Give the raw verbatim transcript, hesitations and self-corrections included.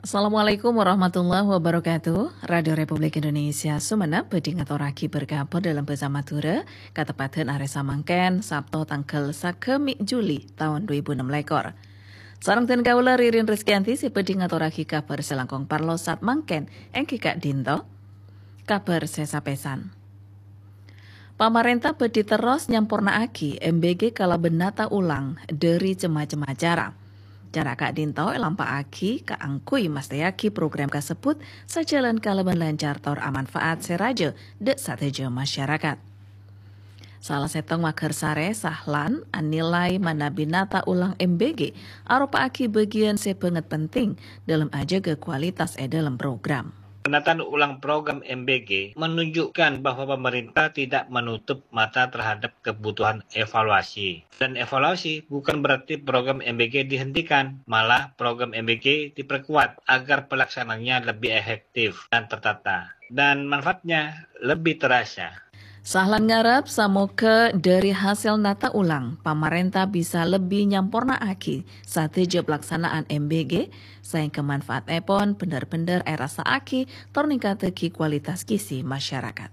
Assalamualaikum warahmatullahi wabarakatuh. Radio Republik Indonesia Sumenep bhâdhi ngatorraghi berkabar dalam bhâsa Madhurâ, kateppadhân arè samangkèn, Sabto tangghâl sagâmè' Juli taon dhu èbu ennem lèkor. Sareng dhân kaulâ Ririn Rizkyanti sè bhâdhi ngatorraghi kabhâr sè langkong parlo sa'at mangkèn, èngghi ka'dinto. Kabhâr sè sapèsan. Pamarènta bhâdhi terros nyamporna'aghi M B G kalabân nata ulang dhâri cem-macem acara. Cara ka'dinto èlampa'aghi kaangghuy mastèyaghi program kasebbhut sajhâlân kalabân lancar tor amanfaat sè rajâ dhâ' sadhâjâ masyarakat. Sala sèttong maghârsarè Sahlan anilai manabi nata ulang M B G aropa'aghi bâgiyân sè bângèt penting dhâlem ajâgâ kualitas è dhâlem program. Penataan ulang program M B G menunjukkan bahwa pemerintah tidak menutup mata terhadap kebutuhan evaluasi. Dan evaluasi bukan berarti program M B G dihentikan, malah program M B G diperkuat agar pelaksanaannya lebih efektif dan tertata, dan manfaatnya lebih terasa. Sahlan ngarep samoghâ dhâri hasèl nata ulang, pamarènta bisa lebbi nyamporna'aghi sadhâjâ palaksana'an M B G, saèngghâ manfaatèpon bhender-bhender èrassa'aghi tor ningkaddhâghi kualitas gizi masyarakat.